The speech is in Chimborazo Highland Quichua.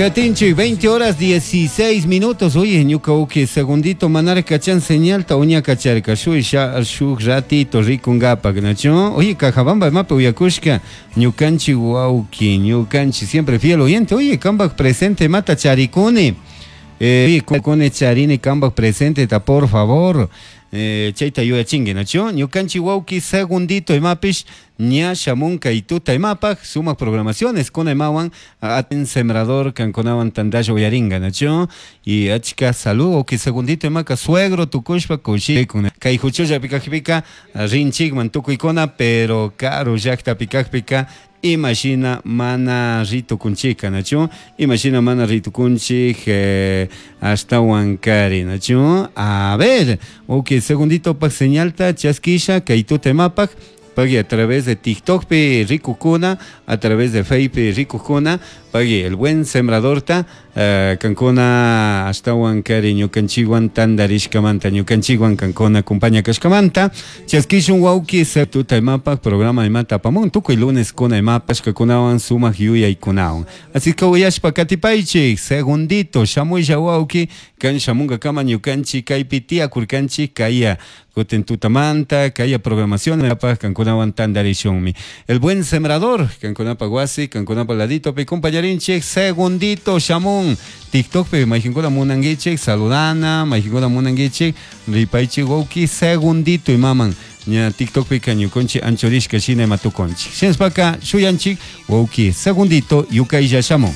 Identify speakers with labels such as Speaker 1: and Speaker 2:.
Speaker 1: Katinchik, 20 horas 16 minutos. Oye, ñuka uki segundito manara kachan señalta uña kacharka. Shuy shuk ratito rikungapak, nachu? Oye, Cajabamba imapi uyakushka ñukanchik wawki, ñukanchik siempre fiel oyente. Oye, kambak presente mata charikuni. Kuni charini kambak presente ta por favor. Chayta yuyachinki, nachu? Ñukanchik wawki segundito imapish ña shamun kay tuta imapaj sumak programaciones kuna imawan atin sembrador kankunawan tantalla uyaringa, nachu? Y achka salud wawki segundito imaka suegro tukushpa kushikun. Kay huchullapi kajpika rinchikman tukuykuna, pero karu llaktapi kajpika imashina mana ritukunchika, nachu? Imashina mana ritukunchik ashtawan kari, nachu? A ver, ok, segundito pak señalta chaskisha kay tuta imapak pagui a través de TikTok pi rikukuna, a través de Facebook pi rikukuna, pagui el buen sembrador ta kankuna ashtawan kari ñukanchikwan tantarishkamanta, ñukanchikwan kankuna compañía kashkamanta, chaskishun wawki tuta imapak programa imata apamun, tukuy lunes kuna imapak kunawan sumak yuyaykunawan. Así que uyashpa katipaychik, segundito, shamuylla wawki, kan shamunkakama ñukanchik kaypi tiyakurkanchik kaya kutin tutamanta, kaya programación imapak kankunawan tantarishunmi. El buen sembrador, kankunapa wasi, kankunapa ladito pi compañerinchik, segundito shamun. TikTok pi mayqinkuna munankichik, saludana, mayqinkuna munankichik, ripaychik wawki, segundito imaman. Ña TikTok pi ñukunchik anchurishka shina ima tukunchik. Shinashpaka shuyanchik wawki, segundito yukaylla shamun.